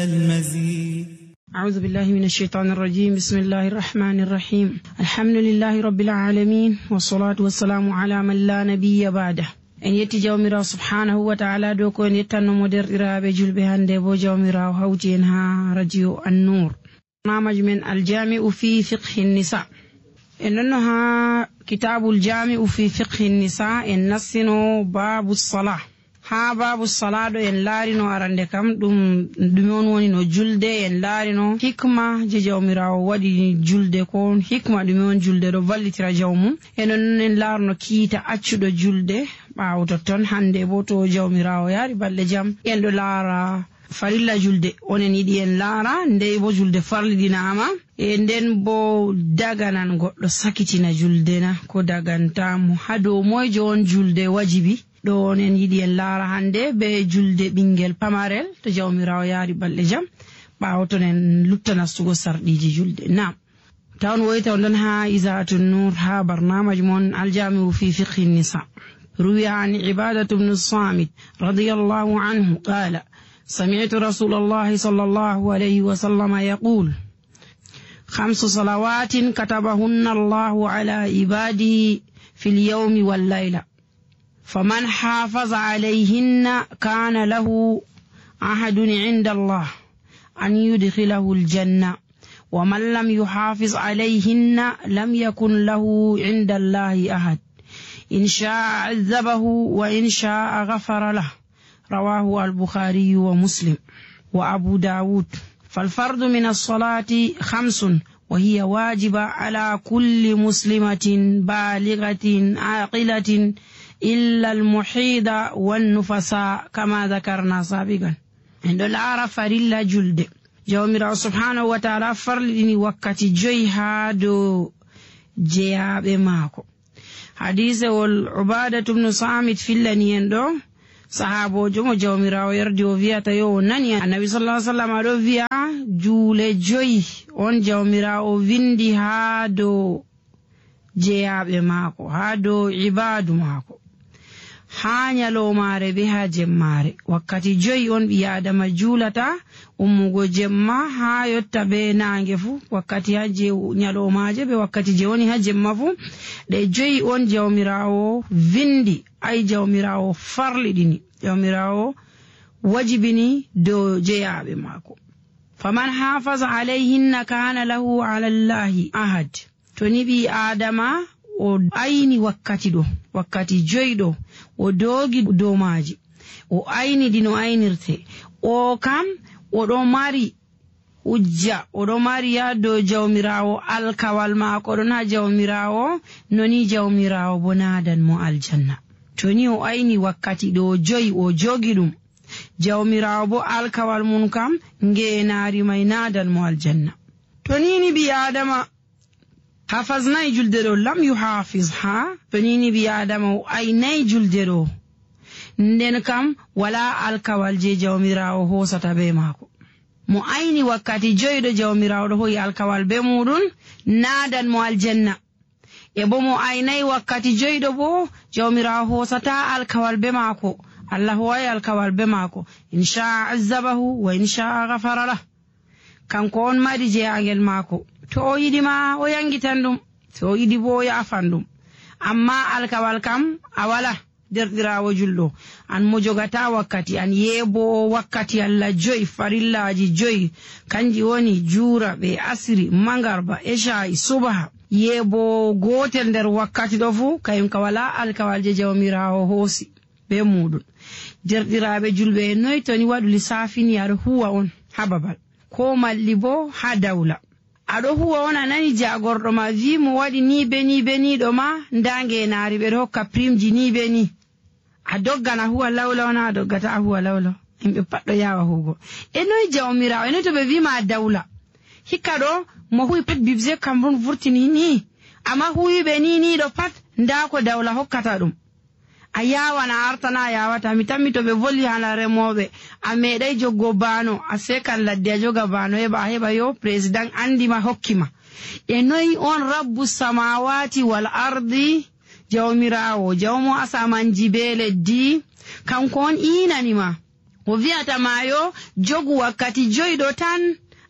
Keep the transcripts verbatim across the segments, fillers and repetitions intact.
المزيد. أعوذ بالله من الشيطان الرجيم. بسم الله الرحمن الرحيم. الحمد لله رب العالمين، والصلاة والسلام على من لا نبي بعده. En yetti Jawmiraawo subhaanahu wa ta'ala dow ko en yettanno mo. Derɗiraaɓe julɓe, hannde bo Jawmiraawo hawti en haa Radio An-Nur. Barnaamaj men Aljami'u fi Fiqhi Nisa. En ɗonno haa Kitaabul Jami'u fi Fiqhi Nisa, en nastino Baabu Salah. Haa Baabu Salah ɗo en laarino arande kam ɗum, ɗume on woni no julde, en laarino hikma je Jawmiraawo waɗi julde, ko on hikma ɗume on julde ɗo vallitira jawmum. En ɗon en laarno kiita accuɗo julde, ɓaawo totton hannde bo to Jawmiraawo yaari balɗe jam, en ɗo laara farilla julde. Onen yiɗi en laara ndey bo julde farliɗinaama, e nden bo daganan goɗɗo sakitina julde na, ko daganta mo, haa dow moyjo on julde wajibi. Ɗo onen yiɗi en laara hannde be julde ɓingel pamarel to Jawmiraawo yaari balɗe jam, ɓaawo ton en lutta nastugo sarɗiiji julde. Naam. Tawon woyta on ɗon haa Izaatun Nur, haa barnaamaj mon Aljami'u fi Fiqhi Nisa. روي عن عبادة بن الصامت رضي الله عنه قال: سمعت رسول الله صلى الله عليه وسلم يقول: خمس صلوات كتبهن الله على عباده في اليوم والليلة، فمن حافظ عليهن كان له عهد عند الله أن يدخله الجنة، ومن لم يحافظ عليهن لم يكن له عند الله عهد، إن شاء عذبه وإن شاء غفر له. رواه البخاري ومسلم وأبو داود. فالفرض من الصلاة خمس، وهي واجبة على كل مسلمة بالغة عاقلة إلا المحيض والنفساء، كما ذكرنا سابقا. En ɗo laara farilla julde. Jawmiraawo subhaanahu wa ta'ala farliɗini wakkati joyi haa dow jeyaaɓe maako. Hadiisewol Ubaadatu bnu Saamit fillani en ɗo, sahaaboojo mo Jawmiraawo yardi, o wi'ata yo o nani Annabi sallallahu alaihi wasallam ɗo wi'a, juule joyi on Jawmiraawo windi haa dow jeyaaɓe maako, haa dow ibaadu maako, haa nyaloomaare be haa jemmaare. Wakkati joyi on ɓii Aadama juulata, ummugo jemma haa yotta be naange fuu, wakkati haa je nyaloomaaje be wakkati je woni haa jemma fuu. Ɗe joyi on Jawmiraawo vindi, ay Jawmiraawo farliɗini, Jawmiraawo wajibini dow jeyaaɓe maako. Faman hafaza alayhinna kana lahu ala Allahi ahad. To ni ɓii Aadama o ayni wakkati ɗo, wakkati joyi ɗo, o doogi dow maaji, o ayni ɗi no aynirte, o kam o ɗo mari hujja, o ɗo mari haa dow Jawmiraawo, alkawal maako ɗon haa Jawmiraawo, no ni Jawmiraawo bo naadan mo aljanna. To ni o ayni wakkati ɗo joyi, o jogi ɗum, Jawmiraawo bo alkawal mum kam ngeenaari may naadan mo aljanna. To ni ni ɓii Aadama hafasnay julde ɗo, lam yuhafiz ha, to ni ni ɓii Aadama o aynay julde ɗo, nden kam walaa alkawal je Jawmiraawo hoosata be maako. Mo ayni wakkati joyi ɗo, Jawmiraawo ɗo hoyi alkawal be muuɗum, naadan mo aljanna. E bo mo aynay wakkati joyi ɗo bo, Jawmiraawo hoosataa alkawal be maako. Allah ho'ay alkawal be maako. In sha'a azzabahu wa in sha'a ghafara lah. Kanko on mari jeyaangel maako. To o yiɗi ma, o yangitan ɗum. To o yiɗi bo, o yaafan ɗum. Amma alkawal kam, a walaa. Derɗiraawo julɗo, an mo jogataa wakkati, an yeeboowo wakkati Allah joyi, farillaaji joyi, kanji woni juura ɓe asiri, mangarba, ecaa'i, subaha. Yeeboowo gootel nder wakkati ɗo fuu, kayum ka walaa alkawal je Jawmiraawo hoosi be muuɗum. Derɗiraaɓe julɓe, e noy to ni waɗu lissafi ni aɗo huwa on haa babal, ko malli bo haa dawla. A ɗo huwa on, a nani jaagorɗo ma vi mo waɗi ni be ni be ni ɗo ma, nda ngeenaari ɓe ɗo hokka primji ni be ni. A doggan a huwa lawlaw na, a doggata a huwa lawlaw. Yimɓe pat ɗo yaawa huugo. E noy Jawmiraawo, e noy to ɓe vi ma dawla? Hikka ɗo mo huwi pat bibze Cameroun vurtini ni. Amma huwiɓe ni ni ɗo pat, nda ko dawla hokkata ɗum. A yaawan a artana a yaawata. Mi tammi to ɓe volli haala remooɓe, a meeɗay joggo baano, a seekan ladde a joga baano, heɓa a heɓa yo président anndi ma hokki ma. E noy on Rabbu samaawaati wal ardi, Jawmiraawo, Jawmo asamanji bee leddi, kanko on iinani ma? O wi'ata ma yo jogu wakkati joyɗo tan,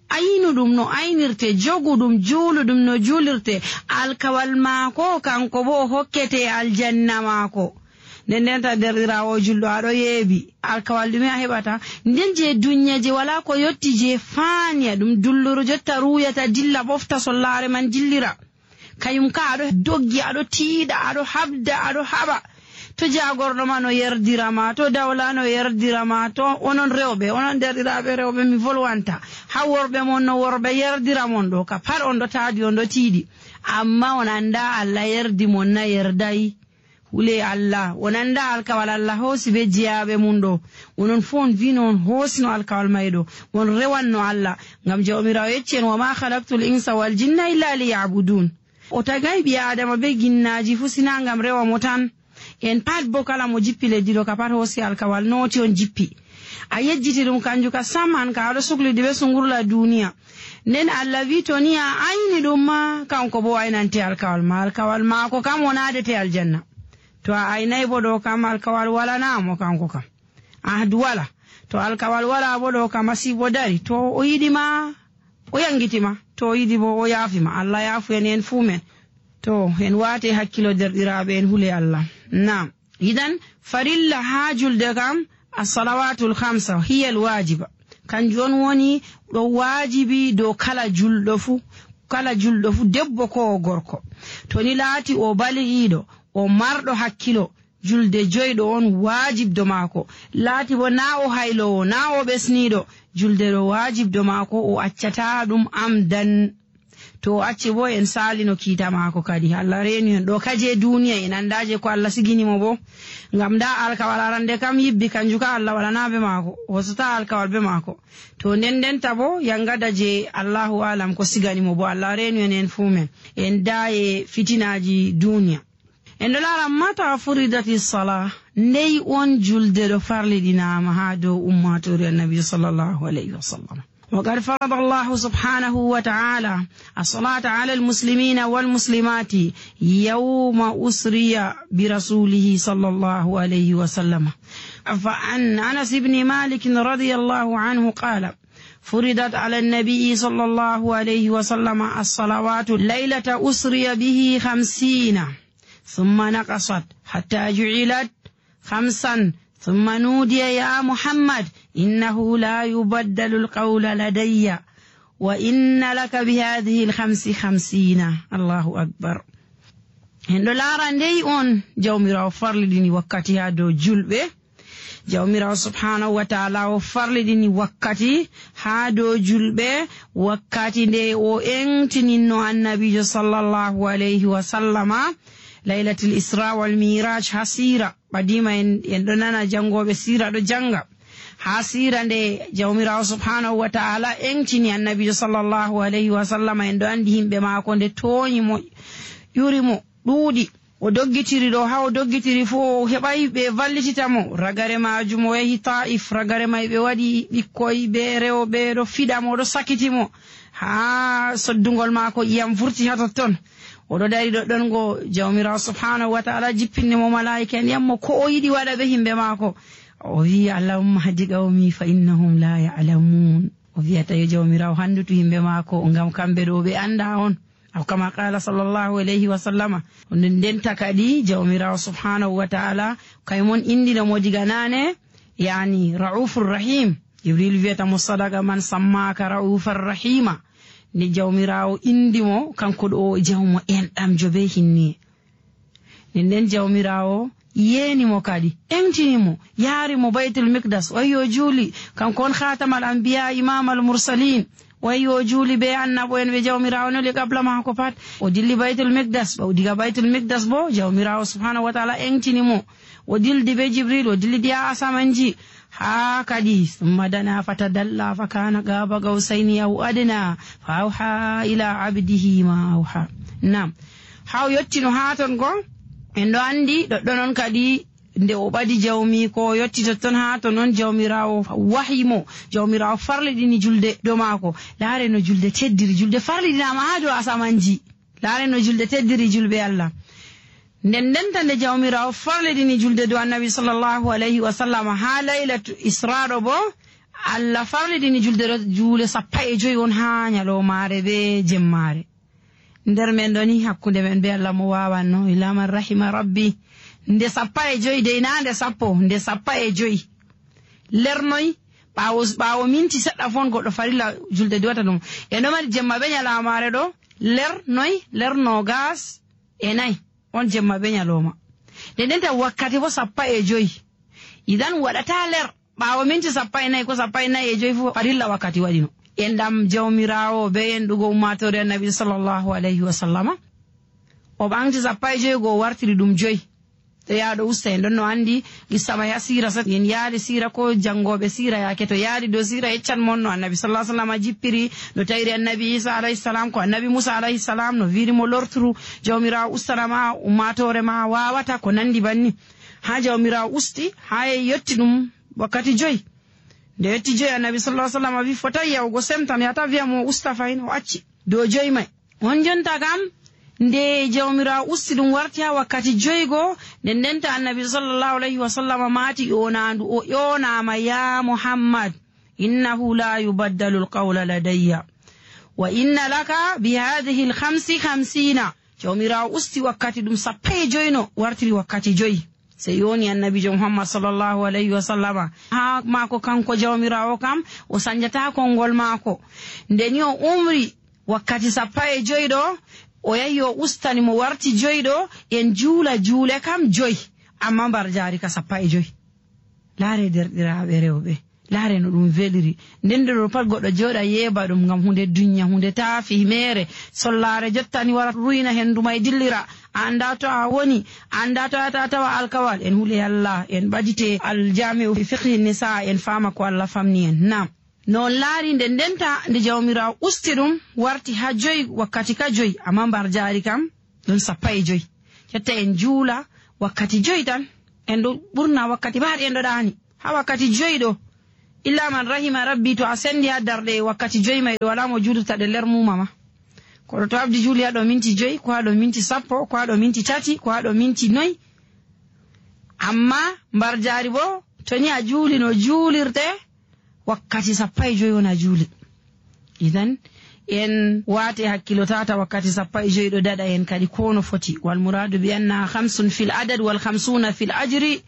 aynu ɗum no aynirte, jogu ɗum, juulu ɗum no juulirte. Alkawal maako, kanko bo o hokkete aljanna maako. Nden nden ta derɗiraawo julɗo, aɗo yeebi. Alkawal ɗume a heɓata? Nden je dunya je wala ko yotti je faanya ɗum dulluru jotta ruuyata dilla ɓofta sollaare man jillira. Kayum ka aɗo doggi, aɗo tiiɗa, aɗo habda, aɗo haɓa. To jaagorɗo ma no yerdira ma, to dawla no yerdira ma, to onon rewɓe, onon derɗiraaɓe rewɓe, mi volwanta. Ha worɓe mon no worɓe yerdira mon ɗo, ka pat on ɗo taadi, on ɗo tiiɗi. Amma on annda Allah yerdi mon na yerday. Hule Allah, on annda alkawal Allah hoosi be jeyaaɓe mum ɗo. Onon fuu on vino on hoosino alkawal mayɗo. On rewanno Allah. Ngam Jawmiraawo yecci en, "Wa ma khalaqtul insa wal jinna illa liya'budun." O tagay ɓii Aadama be ginnaaji fuu sina ngam rewa mo tan. En pat bo kala mo jippi leddi ɗo ka pat hoosi alkawal nooti on jippi. A yejjiti ɗum kanju ka sam an ka aɗo suklidi be sungurla duniya. Nden Allah wi to ni a ayni ɗum ma, kanko bo o aynante alkawal ma. Alkawal maako kam wonaadete aljanna. To a aynay bo ɗo kam alkawal wala na mo kanko kam. Ahdu wala. To alkawal wala bo ɗo kam masiibo dari. To o yiɗi ma, o yangiti ma. To o yiɗi bo o yaafi ma. Allah yaafu en en fuu men. To en waate hakkilo derɗiraaɓe en hule Allah. Naam. Idan farilla haa julde kam as-salawatul khamsa hiya al-wajiba. Kanjum on woni ɗo waajibi dow kala julɗo fuu, kala julɗo fuu debbo ko o gorko. To ni laati o baligiiɗo, o marɗo hakkilo, julde joyɗo on waajibdo maako. Laati bo naa o hayloowo, naa o ɓesniiɗo, julde ɗo waajibdo maako, o accataa ɗum amdan. To o acci bo en saalino kiita maako kadi. Allah reenu en ɗo kaje duniya en anndaa je ko Allah sigini mo bo. Ngam ndaa alkawal arande kam yibbi kanjum ka Allah waɗanaa be maako. O hosataa alkawal be maako. To nden ndenta bo yangada je Allahu alam ko sigani mo bo. Allah reenu en en fuu men. En daa e fitinaaji duniya. En ɗo laara mata furidati sala, ndey on julde ɗo farliɗinaama haa dow ummaatoore Annabi sallallahu alayhi wa sallam. وقد فرض الله سبحانه وتعالى الصلاة على المسلمين والمسلمات يوم أسري برسوله صلى الله عليه وسلم. فعن أنس بن مالك رضي الله عنه قال: فرضت على النبي صلى الله عليه وسلم الصلوات ليلة أسري به خمسين، ثم نقصت حتى جعلت خمسا، ثم نودي: يا محمد، إنه لا يبدل القول لدي، وإن لك بهذه الخمس خمسين. الله أكبر. En ɗo laara ndey on Jawmiraawo farliɗini wakkati haa dow julɓe. Jawmiraawo subhaanahu wa ta'ala o farliɗini wakkati haa dow julɓe, wakkati nde o eŋtininno Annabiijo sallallahu alayhi wa sallama laylatil Isra wal Mi'raj haa siira. Ɓadiima en, en ɗo nana janngooɓe siira ɗo jannga. Haa siira nde Jawmiraawo subhaanahu wa ta'ala eŋtini Annabiijo sallallahu alayhi wa sallama, en ɗo anndi yimɓe maako nde tooñi mo, ƴuri mo, ɗuuɗi. O doggitiri ɗo, haa o doggitiri fuu, o heɓaay ɓe vallitita mo. Ragare maajum, o yahi Taa'if, ragare may ɓe waɗi ɓikkoy be rewɓe, ɗo fiɗa mo, ɗo sakiti mo. Haa soddungol maako, ƴiyam vurti haa totton. O ɗo dari ɗoɗɗon, go Jawmiraawo subhaanahu wa ta'ala jippinni mo malaa'ika en, ƴami mo ko o yiɗi waɗa be yimɓe maako. O wi'i, "Allahumma hdi qawmi fa innahum la ya'lamun." O wi'ata yo Jawmiraawo hanndutu yimɓe maako, ngam kamɓe ɗo ɓe anndaa on. Aw kama qaala sallallahu alayhi wa sallama. Nden ndenta kadi Jawmiraawo subhaanahu wa ta'ala, kay mon inndino mo diga naane, yaani Ra'ufur Rahim. Jibril wi'ata mo, "Sadaqa man sammaaka Ra'ufar Rahima." Nde Jawmiraawo inndi mo, kanko ɗo o jawmo enɗamjo be hinniye. Nden nden Jawmiraawo yeeni mo kadi, eŋtini mo, yaari mo Baytul Miqdas, o yahi o juuli, kanko on Khatamal Anbiya, Imamal Mursalin. O yahi o juuli be annabo'en ɓe Jawmiraawo neli qabla maako pat. O dilli Baytul Miqdas, ɓawo diga Baytul Miqdas bo, Jawmiraawo subhaanahu wa ta'ala eŋtini mo. O dildi be Jibril, o dillidi haa asamanji. Haa kadi, summa dana fatadalla fakana qaba qawsayni aw adna, fa awha ila abdihi ma awha. Naam. Haa o yottino haa ton go, en ɗo anndi, ɗoɗɗon on kadi, nde o ɓadi Jawmiiko, o yotti totton haa ton on Jawmiraawo wahyi mo, Jawmiraawo farliɗini julde dow maako. Laare no julde teddiri, julde farliɗinaama haa dow asamanji. Laare no julde teddiri julɓe Allah. Nden ndenta nde Jawmiraawo farlidini julde dow Annabi sallallahu alayhi wa sallam haa laylatu Israaɗo boo, Allah farlidini julde ɗo, juule sappo e jowi on haa nyaloomaare bee jemmaare. Nder men ɗo ni, hakkunde men bee Allah mo waawanno, illa man rahima rabbi. Nde sappo e jowi dey, naa nde sappo, nde sappo e jowi. Ler noy? Ɓaawo, ɓaawo minti seɗɗa fon goɗɗo farilla julde diwata ɗum. En ɗo mari jemma bee nyalaamaare ɗo, ler noy? Ler noogas e nayi. On jemma bee nyalooma. Nden ndenta wakkati boo sappo e jowi. Idan waɗataa ler. Ɓaawo minti sappo e nayi ko sappo e nayi e jowi fuu farilla wakkati waɗino. En ɗam Jawmiraawo bee enɗugo ummaatoore Annabi sallallahu alayhi wa sallama. O ɓaŋgti sappo e jowi go o wartiri ɗum jowi. To yahɗo usta en ɗon no anndi qissa may haa siira sat. En yaali siira ko janngooɓe siira yaake to yaali dow siira yeccan mon no Annabi sallallahu alayhi wa sallam jippiri, no tawiri Annabi Iisa alayhi salam, ko Annabi Muusa alayhi salam, no viiri mo lorturu, Jawmiraawo ustana ma, ummaatoore ma waawata ko nanndi banni. Haa Jawmiraawo usti, haa yetti ɗum wakkati jowi. Nde yetti jowi, Annabi sallallahu alayhi wa sallam wi, "Fotay yahugo semtan, yahata wi'a mo o usta fahin," o acci. Dow jowi may. On jonta kam, nde Jawmiraawo usti ɗum warti haa wakkati jowi go, nden ndenta Annabi sallallahu alayhi wa sallam maati ƴoonaandu, o ƴoonaama, "Ya Muhammad, innahu la yubaddalu alqawla ladayya. Wa inna laka bi hadhihi alkhamsi khamsina." Jawmiraawo usti wakkati ɗum sappo e jowi no wartiri wakkati jowi. Sey yooni Annabiijo Muhammad sallallahu alayhi wa sallama. Haa maako kanko Jawmiraawo kam, o sanjataa konngol maako. Nde ni o umri wakkati sappo e jowi ɗo, o yahi o ustani mo warti jowi ɗo, en juula juule kam jowi, ammaa mbarjaari ka sappo e jowi. Laare derɗiraaɓe rewɓe. Laare no ɗum veliri. Nden nder ɗo pat goɗɗo jooɗa yeeba ɗum ngam huunde dunya, huunde taafi meere. Sollaare jottani wara ruyna henndu may dillira. A anndaa to a woni, a anndaa to a yahata a tawa alkawal. En hule Allah, en ɓadite aljami'u fiqhi nisa, en faama ko Allah famni en. Naam. No on laari nde ndenta nde Jawmiraawo usti ɗum warti haa joyi, wakkati ka joyi, ammaa mbarjaari kam ɗon sappo e joyi. Jotta en juula wakkati joyi tan. En ɗo ɓurna wakkati ɓaaɗi en ɗo ɗaani. Haa wakkati joyi ɗo, illa man rahima rabbi, to a senndi haa darɗe wakkati joyi may ɗo, walaa mo juulirta ɗe ler muuma ma. Kono to habdi juuli haa ɗo minti joyi, ko haa ɗo minti sappo, ko haa ɗo minti tati, ko haa ɗo minti noy. Ammaa mbarjaari boo, to ni a juuli no juulirte, wakkati sappo e joyi on a juuli. Idan, en waate hakkilo tata wakkati sappo e joyi ɗo daɗa en kadi ko no foti. Wal muradu bi annaha khamsun fil adad wal khamsuna fil ajri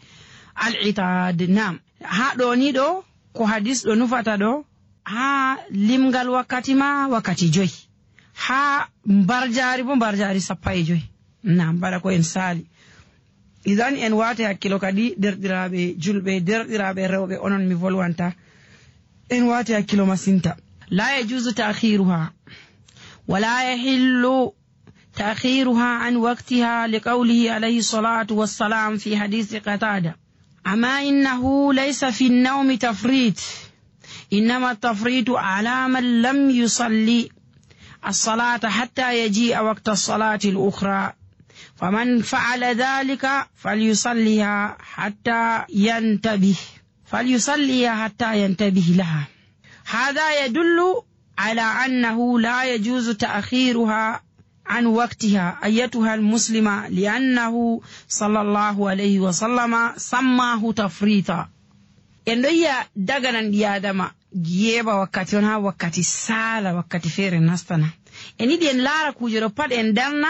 al itad. Naam. Haa ɗo ni ɗo, ko hadis ɗo nufata ɗo, haa limgal wakkati ma wakkati joyi. Haa mbarjaari bo mbarjaari sappo e joyi. Naam, mbaɗa ko en saali. Idan en waate hakkilo kadi, derɗiraaɓe julɓe, derɗiraaɓe rewɓe, onon mi volwanta. En waate hakkilo masinta. La yajuzu ta'khiruha. Wa la yahillu ta'khiruha an waqtiha li qawlihi alayhi salatu wassalam fi hadisi Qatada. Amma innahu laysa fi an-nawmi tafrit. Innama at-tafritu ala man lam yusalli as-salata hatta yaji'a waqta as-salati al-ukhra. Faman fa'ala dhalika falyusalliha hatta yantabih. Falyusalliha hatta yantabih laha. Hadha yadullu ala annahu la yajuzu ta'khiruha an waqtiha ayyatuha al-muslima li'annahu sallallahu alayhi wa sallama sammahu tafrita. En ɗo yiya daganan ɓi Adama yeeɓa wakkati on haa wakkati saala, wakkati feere nastana. En yiɗi en laara kuuje ɗo pat en darna,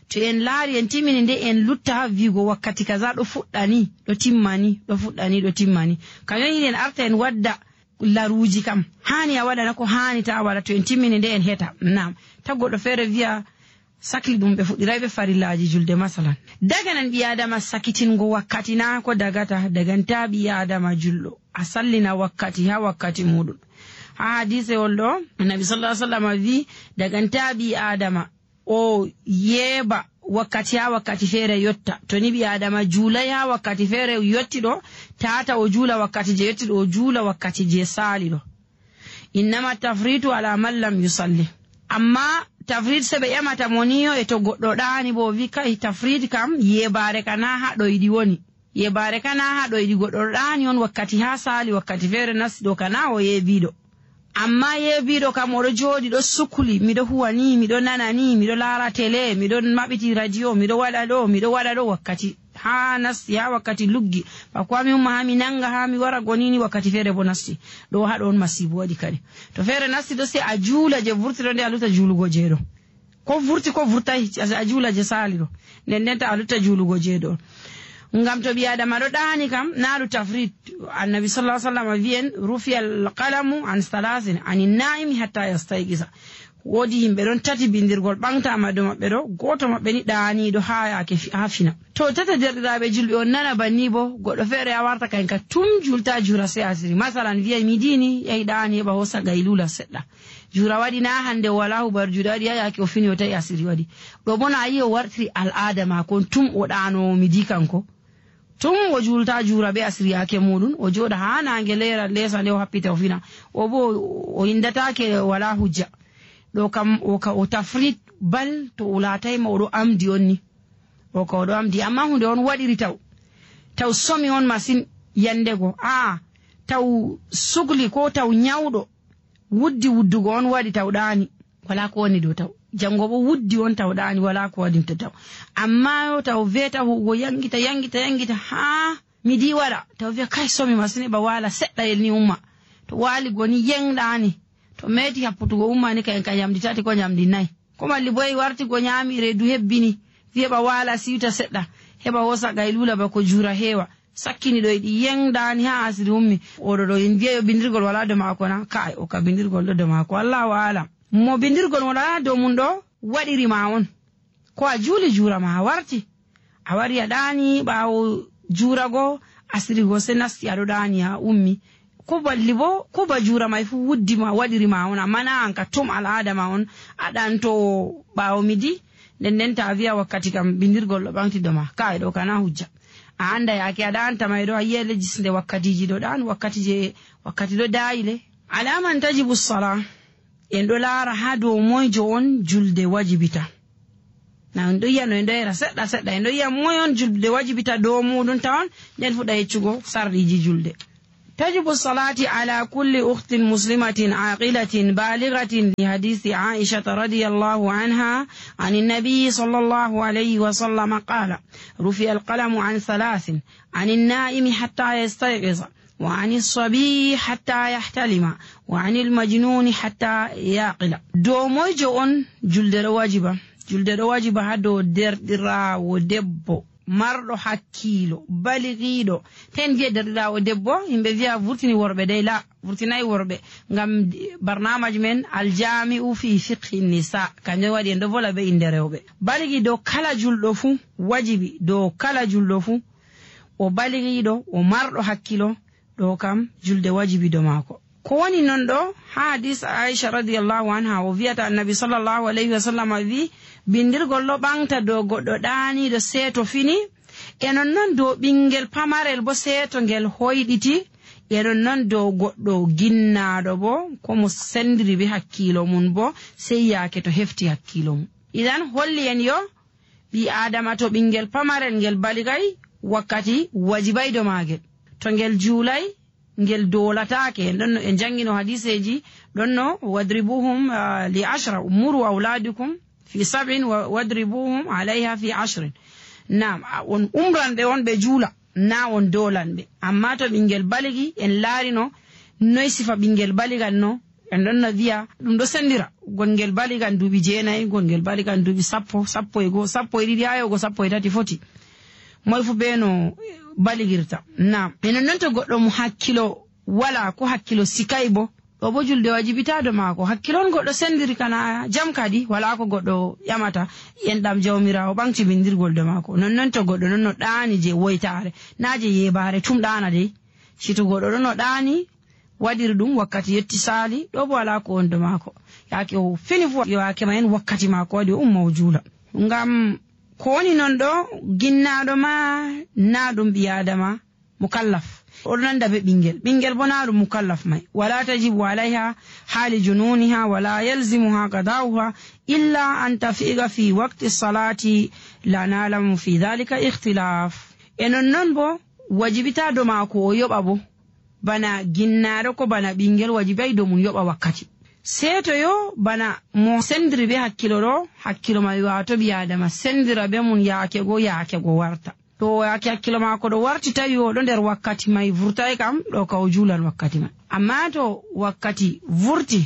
to en laari en timmini nde en lutta haa viigo wakkati kaza ɗo fuɗɗani, ɗo timmani, ɗo fuɗɗani, ɗo timmani. Kañum yiɗi en arta en wadda laruuji kam. Haani a waɗana ko haani ta a waɗa to en timmini nde en heta. Naam. Ta goɗɗo feere wiya sakli ɗum ɓe fuɗɗiray ɓe farillaaji julde masalan. Daganan ɓi Adama sakitingo wakkati na ko dagata, daganta ɓi Adama julɗo. A sallina wakkati haa wakkati muɗum. Haa hadiisewol ɗo, Annabi sallallahu alaihi wasallam wi, daganta ɓi Adama o yeeɓa wakkati haa wakkati feere yotta. To ni ɓi Adama juulay haa wakkati feere yotti ɗo, tata o juula wakkati je yotti ɗo, o juula wakkati je saali ɗo. Innama tafritu ala man lam yusalli. Amma tafrit se ɓe ƴamata mo ni yo e to goɗɗo ɗaani bo o wi kay tafrit kam yeebaare ka na haa ɗo yiɗi woni. Yeebaare ka na haa ɗo yiɗi goɗɗo ɗo ɗaani on wakkati haa saali wakkati feere nasti ɗo ka na o yeebiiɗo. Amma yeebiiɗo kam, oɗo jooɗi, ɗo sukli, miɗo huwa ni, miɗo nana ni, miɗo laara tele, miɗo maɓɓiti radio, miɗo waɗa ɗo, miɗo waɗa ɗo wakkati. Haa nasti, haa wakkati luggi. Bako haa mi umma, haa mi nannga, haa mi wara gonini, wakkati feere bo nasti. Ɗo haa ɗo on masiibo waɗi kadi. To feere nasti ɗo, sey a juula je vurti ɗo, nde a luta juulugo je ɗo. Ko vurti, ko vurtay, a, a juula je saali ɗo. Nden nden ta a lutta juulugo je ɗo. Ngam to ɓii Aadama ɗo ɗaani kam, na ɗum tafrit. Annabi sallallahu alaihi wasallam wi'en, "Rufi al-qalamu an salasin, ani na'imi hatta yastayqisa." Woodi yimɓe ɗon tati bindirgol ɓaŋgtaama dow maɓɓe ɗo, gooto maɓɓe ni ɗaaniiɗo haa yaake fi-, haa fina. To tata derɗiraaɓe julɓe on nana banni bo, goɗɗo feere a warta kayen ka tum julta juura sey asiri. Masalan, wi'ay mi diini, yahi ɗaani heɓa hoosa gaylula seɗɗa. Juura waɗi na hande o walaa hubar juuɗe waɗi haa yaake o fini o tawi asiri waɗi. Ɗo bo na a yi o wartiri al'aada maako on tum o ɗaanoowo midi kanko. Tum o juulta juura be asiri yaake muuɗum, o jooɗa haa naange leera leesa nde o happita o fina. O bo o inndataake walaa hujja. Ɗo kam o ka o tafrit bal to o laatay ma o ɗo amdi on ni. O ka o ɗo amdi, amma hunde on waɗiri taw. Taw somi on masin yandego. Aa, taw sukli ko taw nyawɗo. Wuddi wuddugo on waɗi taw ɗaani, walaa ko woni dow taw. Janngo bo wuddi on taw ɗaani, walaa ko waɗinta taw. Amma yo taw veeta huugo yangita, yangita, yangita, haa midi waɗa. Taw vi'a, "Kay, somi masin, heɓa waala seɗɗa yel ni umma." To waali go ni yeng ɗaani. To meeti happutugo umma ni kayen ka njamdi tati ko njamdi nayi. Ko malli boy warti go nyaami reedu hebbini. Vi'a heɓa waala siwta seɗɗa. Heɓa hoosa gaylula bako juura heewa. Sakkini ɗo yiɗi yeng ɗaani haa asiri ummi. Oɗo ɗo in vi'a yo bindirgol walaa dow maako na? Kaay, o ka bindirgol ɗo dow maako. Allahu aalam. Mo bindirgol walaa dow mum ɗo waɗiri ma on. Ko a juuli juura ma a warti. A wari a ɗaani ɓaawo juura go asiri go se nasti aɗo ɗaani a ummi. Ko balli bo, ko ba juura may fu wuddi ma, waɗiri ma on, amma na an ka tum al'aada ma on, a ɗaanto ɓaawo midi, nden nden ta vi'a wakkati kam bindirgol ɗo ɓaŋgti dow ma. Kaay ɗo kana hujja. A annda yaake a ɗaanta may ɗo, a yi'ay lejis nde wakkatiji ɗo ɗaan, wakkati je, wakkati ɗo daayi le. Alaa man tajibu sala, en ɗo laara haa dow moyjo on julde wajibita. Na en ɗo yi'a no en ɗo yera seɗɗa seɗɗa, en ɗo yi'a moy on julde wajibita dow muuɗum tawon, nden fuɗa yeccugo sarɗiiji julde. تجب الصلاة على كل أخت مسلمة عاقلة بالغة لحديث عائشة رضي الله عنها عن النبي صلى الله عليه وسلم قال: "رفع القلم عن ثلاث، عن النائم حتى يستيقظ، وعن الصبي حتى يحتلم، وعن المجنون حتى يعقل." Dow moyjo on julde ɗo wajiba? Julde ɗo wajiba haa dow derɗiraawo debbo marɗo hakkiilo, baligiiɗo. Ten vi'a derɗiraawo debbo, yimɓe vi'a vurtini worɓe dey, la, vurtinaay worɓe. Ngam barnaamaj men, Aljami'u fi fiqhi nisa, kanjum waɗi en ɗo vola be innde rewɓe. Baligi dow kala julɗo fuu, wajibi dow kala julɗo fuu, o baligiiɗo, o marɗo hakkiilo, ɗo kam julde wajibi dow maako. Ko woni non ɗo, haa hadis Aisha radiyallahu anha, o vi'ata Annabi sallallahu alayhi wa sallam vi'i, bindirgol ɗo ɓaŋgta dow goɗɗo ɗaaniiɗo seeto fini, e non non dow ɓingel pamarel bo seeto ngel hoyɗiti, e non non dow goɗɗo ginnaaɗo bo, ko mo sendiri be hakkiilo mum bo, sey yaake to hefti hakkiilo mum. Idan holli en yo ɓii Aadama to ɓingel pamarel ngel baligay, wakkati wajibay dow maagel. To ngel juulay, ngel doolataake. En ɗonno en janngino hadiseeji, ɗonno: "Wadribuhum, ah, li ashra, muru awladukum fi sab'in wa-, wadribuhum alayha fi ashrin." Naam, a, on umran ɓe on ɓe juula, na on doolan ɓe. Amma to ɓingel baligi, en laarino noy sifa ɓingel baligal no, en ɗonno vi'a ɗum ɗo sendira. Gongel baligal duuɓi jeenayi, gongel baligal duuɓi sappo, sappo e go, sappo e ɗiɗi, haa yahugo sappo e tati foti. Moy fu be no baligirta. Naam. E non non to goɗɗo mo hakkilo wala, ko hakkilo sikay bo, ɗo bo julde wajibita dow maako. Hakkilo on goɗɗo sendiri kana jam kadi, wala ko goɗɗo ƴamata. Enɗam Jawmiraawo ɓaŋgti bindirgol dow maako. Non non to goɗɗo non no ɗaani je woytaare, na je yeebaare tum ɗaana dey. Si to goɗɗo ɗon no ɗaani, waɗiri ɗum wakkati yetti saali, ɗo bo wala ko woni dow maako. Yaake o fini fu, yo yaake ma en wakkati maako waɗi, o umma o juula. Ngam ko woni non ɗo, ginnaaɗo ma na ɗum ɓii Aadama mukallaf. O ɗo nanda be ɓingel. Ɓingel bo na ɗum mukallaf may. Wala tajibu alayha hali jununiha wala yalzimuha qada'uha illa an tafiqa fi waqti salati la na'lamu fi dhalika ikhtilaf. E non non bo, wajibita dow maako o yoɓa bo. Bana ginnaaɗo ko bana ɓinngel, wajibi dow mum yoɓa wakkati. Seetoyo bana mo senndiri bee hakkilo ɗo, hakkilo may waato ɓii-aadama senndira bee mum yaake go, yaake go warta. To yaake hakkilo maako ɗo warti, tawi o ɗo nder wakkati may vurtaay kam, ɗo ka o juulan wakkati may. Ammaa to wakkati vurti,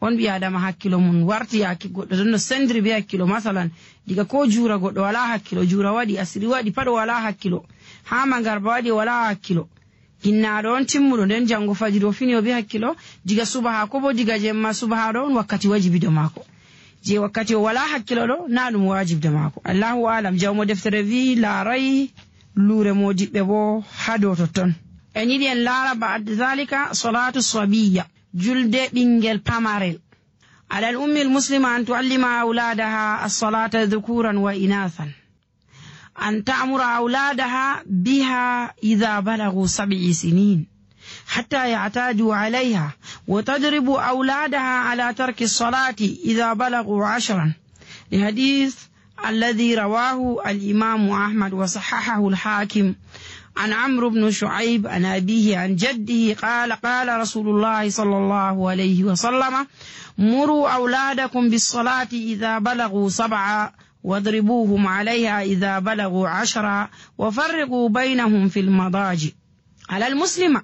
on ɓii-aadama hakkilo mum warti yaake goɗɗo ɗon no senndiri bee hakkilo, masalan, diga ko juura goɗɗo walaa hakkilo, juura waɗi, asiri waɗi, pat o walaa hakkilo, haa maŋgarba waɗi o walaa hakkilo. Ginnaaɗo on timmuɗo, nden janngo fajiri o fini o bee hakkilo, diga subaha ko boo diga jemma subaha ɗo on wakkati wajibi dow maako. Je wakkati o walaa hakkilo ɗo, na ɗum wajibi dow maako. Allahu aalam, jawmo deftere wi'i laaray luure moodiɓɓe boo haa dow totton. En yiɗi en laara ba'da zalika salaatu sabiyya, julde ɓinngel pamarel. Ala al-ummi al-muslima an tu'allima awladaha as-salata dhukuran wa inathan. أن تأمر أولادها بها إذا بلغوا سبع سنين حتى يعتادوا عليها، وتضرب أولادها على ترك الصلاة إذا بلغوا عشرا، لحديث الذي رواه الإمام أحمد وصححه الحاكم عن عمرو بن شعيب عن أبيه عن جده قال: قال رسول الله صلى الله عليه وسلم: مروا أولادكم بالصلاة إذا بلغوا سبعا، واضربوهم عليها إذا بلغوا عشرا، وفرقوا بينهم في المضاجع. على المسلمة.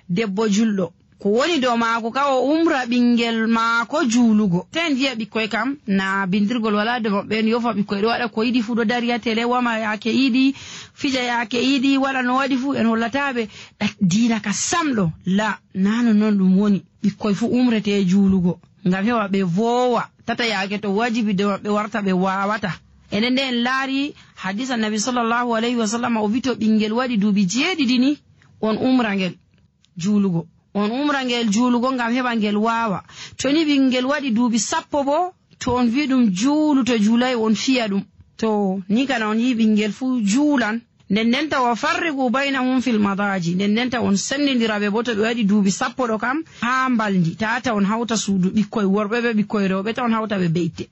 Debbo julɗo, ko woni dow maako ka o umra ɓinngel maako juulugo. Sey en vi'a ɓikkoy kam, na bindirgol walaa dow maɓɓe, en yofa ɓikkoy, ɗo waɗa ko yiɗi fuu, ɗo dari haa tele, wama yaake yiɗi, fija yaake yiɗi, waɗa no waɗi fuu, en hollataa ɓe ɗa-, diina ka sam ɗo. La, na non non ɗum woni. Ɓikkoy fuu umrete juulugo, ngam heɓa ɓe voowa, tata yaake to wajibi dow maɓɓe warta ɓe waawata. Enen nde en laari hadiis Annabi sallallahu alayhi wa sallam, o vi'i to ɓinngel waɗi duuɓi jeeɗiɗi ni, on umra ngel juulugo. On umra ngel juulugo ngam heɓa ngel waawa. To ni ɓinngel waɗi duuɓi sappo boo, to on vi'i ɗum juulu, to juulay on fiya ɗum. To ni kana on yi'i ɓinngel fuu juulan. Nden ndenta wa farriqu baynahum fil madaaji. Nden ndenta on senndindira ɓe boo to ɓe waɗi duuɓi sappo ɗo kam haa mbalndi. Tata on hawta suudu ɓikkoy worɓe bee ɓikkoy rewɓe, ta on hawta ɓe bee itte.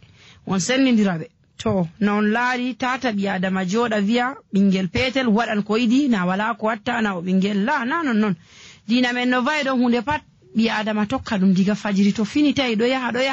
On senndindira ɓe. To, no on laari, tata ɓii-aadama jooɗa vi'a ɓinngel peetel waɗan ko yiɗi, na walaa ko watta, na o ɓinngel. La, na non non. Diina men no va'i ɗo huunde pat, ɓii-aadama tokka ɗum diga fajiri to fini tawi ɗo yaha, ɗo yaha.